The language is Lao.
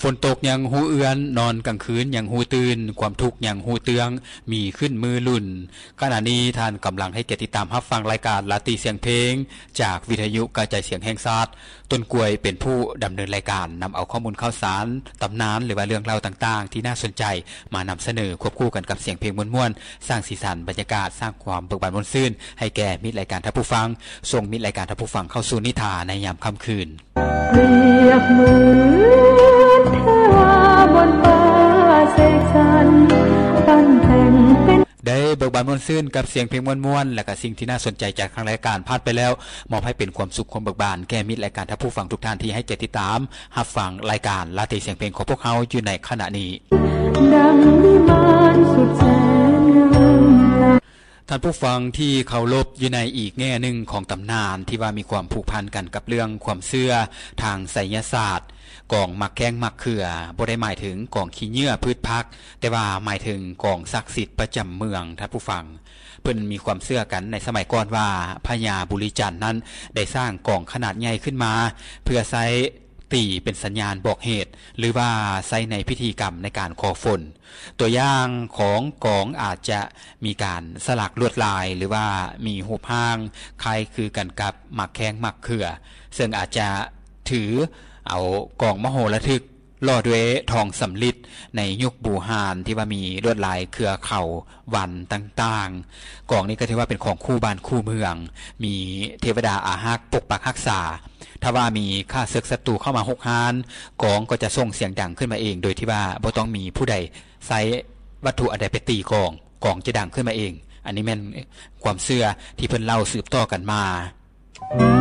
ຝົນຕົກຍັງຮູ້ເອື້ອນ, ນອນກາງຄືນຍັງຮູ້ຕື່ນ, ຄວາມທຸກຍັງຮູ້ເຕື້ອງ, ມີຂຶ້ນມື້ລຸນ. ຂະນະນີ້ທ່ານກຳລັງໃຫ້ກຽດຕິດຕາມຮັບຟັງລາຍການລາຕີສຽງເພງ ຈາກວິທະຍຸກະຈາຍສຽງແຫ່ງຊາດ. ຕົ້ນກ້ວຍເປັນຜູ້ດຳເນີນລາຍການ, ນຳເອົາຂໍ້ມູນຂ່າວສານ, ຕຳນານ ຫຼືວ່າເລື່ອງເລົ່າຕ່າງໆທີ່ໜ້າສົນໃຈ ມານຳສະເໜີ ຄວບຄູ່ກັນກັບສຽງເພງມ່ວນໆ, ສ້າງສີສັນບັນຍາກາດ, ສ້າງຄວາມເບີກບານມ່ວນຊື່ນໃຫ້ແກ່ມິດລາຍການທ່ານຜູ້ຟັງ, ສົ່ງມິດລາຍການທ່ານຜູ້ຟັງເຂົ້າສູ່ນິທານໃນຍາມຄ່ຳຄືນ. ປຽບເໝືອນເທວາບົນຟ້າເສກສັນ ປັ້ນແຕ່ງເປັນ ໄດ້ເບີກບານມ່ວນຊື່ນກັບສຽງເພງມ່ວນໆ ແລະກະສິ່ງທີ່ໜ້າສົນໃຈຈາກທາງລາຍການຜ່ານໄປແລ້ວ, ມອບໃຫ້ເປັນຄວາມສຸກຄວາມເບີກບານແກ່ມິດລາຍການທ່ານຜູ້ຟັງທຸກທ່ານທີ່ໃຫ້ກຽດຕິດຕາມຮັບຟັງລາຍການລາຕີສຽງເພງຂອງພວກເຮົາຢູ່ໃນຂະນະນີ້. ດັ່ງວິມານສຸດແສນງາມ ທ່ານຜູ້ຟັງທີ່ເຄົາລົບ, ຢູ່ໃນອີກແງ່ໜຶ່ງຂອງຕຳນານທີ່ວ່າມີຄວາມຜູກພັນກັນກັບເລື່ອງຄວາມເຊື່ອທາງໄສຍະສາດ, ກອງໝາກແຂ້ງໝາກເຂືອ ບໍ່ໄດ້ໝາຍເຖິງກອງຂີ້ເຫຍື້ອພືດຜັກ, ແຕ່ວ່າໝາຍເຖິງກອງສັກສິດປະຈຳເມືອງ. ທ່ານຜູ້ຟັງ, ເພິ່ນມີຄວາມເຊື່ອກັນໃນສະໄໝກ່ອນວ່າ ພະຍາບຸລິຈັນນັ້ນໄດ້ສ້າງກອງຂະໜາດໃຫຍ່ຂຶ້ນມາ ເພື່ອໃຊ້ຕີເປັນສັນຍານບອກເຫດ ຫຼືວ່າໃຊ້ໃນພິທີກຳໃນການຂໍຝົນ. ຕົວຢ່າງຂອງກອງອາດຈະມີການສະຫຼັກລວດລາຍ ຫຼືວ່າມີຮູບຮ່າງຄ້າຍຄືກັນກັບໝາກແຂ້ງໝາກເຂືອ, ເຊິ່ງອາດຈະຖືເອົາກອງມະໂຫລະທຶກຫຼໍ່ດ້ວຍທອງສຳລິດໃນຍຸກບູຮານທີ່ວ່າມີລວດລາຍເຄືອເຂົາວັນຕ່າງໆ. ກອງນີ້ກໍຖືວ່າເປັນຂອງຄູ່ບ້ານຄູ່ເມືອງ, ມີເທວະດາອາຮັກປົກປັກຮັກສາ. ຖ້າວ່າມີຂ້າເສິກສັດຕູເຂົ້າມາຮຸກຮານ, ກອງກໍຈະສົ່ງສຽງດັງຂຶ້ນມາເອງ ໂດຍທີ່ວ່າບໍ່ຕ້ອງມີຜູ້ໃດ ໃຊ້ວັດຖຸອັນໃດໄປຕີກອງ, ກອງຈະດັງຂຶ້ນມາເອງ. ອັນນີ້ແມ່ນຄວາມເຊື່ອທີ່ເພິ່ນເລົ່າສືບຕໍ່ກັນມາ.